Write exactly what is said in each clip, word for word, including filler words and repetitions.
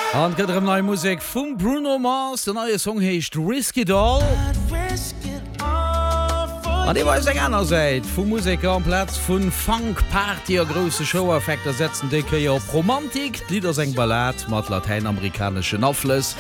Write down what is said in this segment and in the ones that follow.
An et gëtt erëm nei Musek vum Bruno Mars. Den neie Song heescht Risk It All. An dee weist eng aner Säit vum Museker. Amplaz vu Funk, Party a grousse Show-Effekter setzt en déi Kéier op Romantik. D'Lidd ass eng Ballad mat latäinamerikaneschen Aflëss,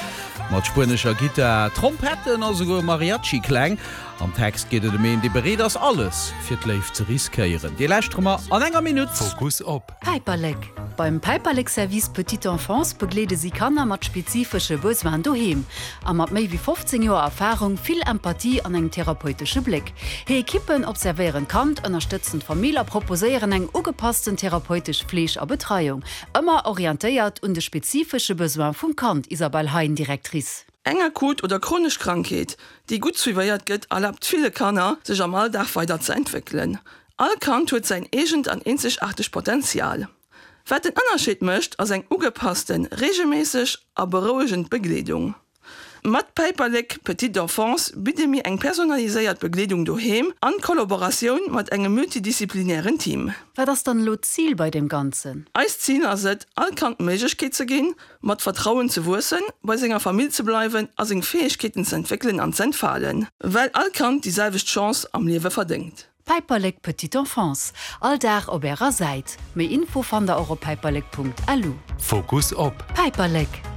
mat spuenescher Gittar, Trompetten a souguer Mariachi-Kläng. Am Text geet et ëm een, dee bereet ass, alles fir d'Léift ze riskéieren. Dee lauschtere mer an enger Minutt. Fokus op. Päiperlek, Beim Päiperlek Service Petite Enfance begleede si Kanner mat spezifesche Besoinen doheem. A mat méi wéi fofzéng Joer Erfarung, vill Empathie an engem therapeutesche Bléck. Hir Ekippen observéieren d'Kand, ënnerstëtzen d'Famill a proposéieren eng ugepassten therapeutesch Fleeg a Betreiung, ëmmer orientéiert un de spezifesche Besoin vum Kand, Isabelle Hein, Directrice. Eng akut oder chronesch Krankheet, déi gutt suivéiert gëtt, erlaabt ville Kanner, sech am Alldag weider ze entwéckelen. All Kand huet säin eegent an eenzegaartegt Potenzial. Wat den Ënnerscheed mécht, ass eng ugepassten, reegelméisseg a berouegend Begleedung. Mat Päiperlek Petite Enfance bidde mir eng personaliséiert Begleedung doheem an Kollaboratioun mat engem multidisziplinären Team. Wat ass dann elo d'Zil bei deem Ganzen? Eist Zil ass et, all Kand d'Méiglechkeet ze ginn, mat Vertrauen ze wuessen, bei senger Famill ze bleiwen a seng Fäegkeeten ze entwéckelen an z'entfalen. Well all Kand déi selwecht Chance am Liewe verdéngt. Päiperlek Petite Enfance, All Dag op Ärer Säit. Méi Info fannt der och op päiperlek Punkt lu. Fokus op. Päiperlek!